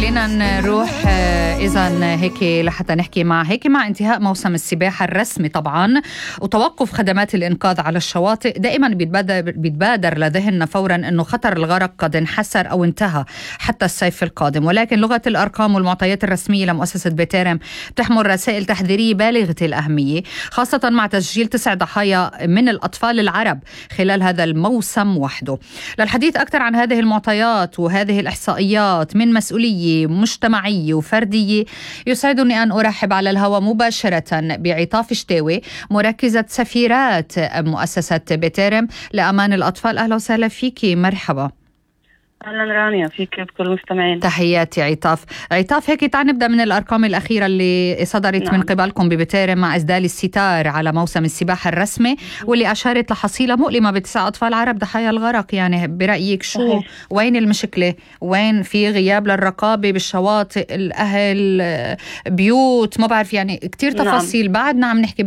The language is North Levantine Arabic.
خلينا نروح إذن هيك لحتى نحكي مع انتهاء موسم السباحة الرسمي طبعا وتوقف خدمات الإنقاذ على الشواطئ. دائما بيتبادر لذهننا فورا أنه خطر الغرق قد انحسر أو انتهى حتى الصيف القادم، ولكن لغة الأرقام والمعطيات الرسمية لمؤسسة بتيرم بتحمل رسائل تحذيرية بالغة الأهمية، خاصة مع تسجيل 9 ضحايا من الأطفال العرب خلال هذا الموسم وحده. للحديث أكثر عن هذه المعطيات وهذه الإحصائيات من مسؤولية مجتمعية وفردية، يسعدني أن أرحب على الهواء مباشرة بعطاف شتاوي، مركزة سفيرات مؤسسة بتيرم لأمان الأطفال. أهلا وسهلا فيكي، مرحبا. أهلا رانيا، فيك بكل المستمعين. تحياتي عطاف. هيك تعال نبدأ من الأرقام الأخيرة اللي صدرت من قبلكم ببتيرم مع إسدال الستار على موسم السباحة الرسمي، واللي أشارت لحصيلة مؤلمة ب9 أطفال عرب ضحايا الغرق. يعني برأيك شو وين المشكلة؟ وين في غياب للرقابة بالشواطئ، الأهل، بيوت، ما بعرف، يعني كتير تفاصيل بعدنا عم نحكي